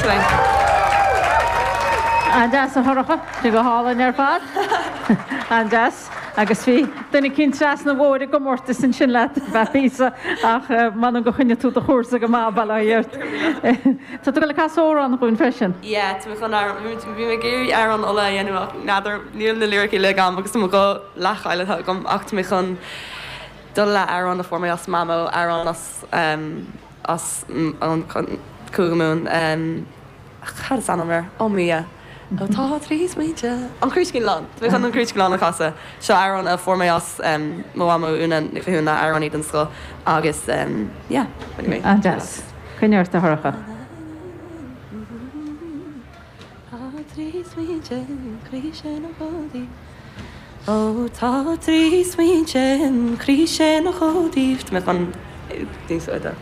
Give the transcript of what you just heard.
Thanks. An-deas a Shorcha, sé go hálainn ar fad. An-deas. Agus bhí duine eicínt trasna an bhóthair i gcomórtas ansin leat ar feadh píosa ach m'anam gur choinnigh tú do chúrsa go maith, bail ó Dhia ort. Tá tú ag dul ag casadh amhrán dhúinn freisin. Yeah, tá mé chun amhrán, bhí mé ag iarraidh amhrán Uladh a dhéanamh ach n'fheadar, níl na liricí uilig agam agus tá mo ghuth leathchaillte agam ach tá mé chun dul le amhrán a fuair mé as Mamó, amhrán as as an Cúige Mumhan. Cad is ainm air? Ó mo Dhia. Ó tá trí smaointe. An Cruiskeen Lawn. Tá mé chun an Cruiskeen Lawn a chasadh. Seo amhrán a fuair mé as mo mhamó Úna Nic Mhathúna, amhránaí den scoth agus yeah, anyway. An-deas. Coinnigh ort a Shorcha. Tá trí smaointe im chroíse ina gcónaí Ó tá trí smaointe im chroíse ina gcónaí Tá mé chun níos faide.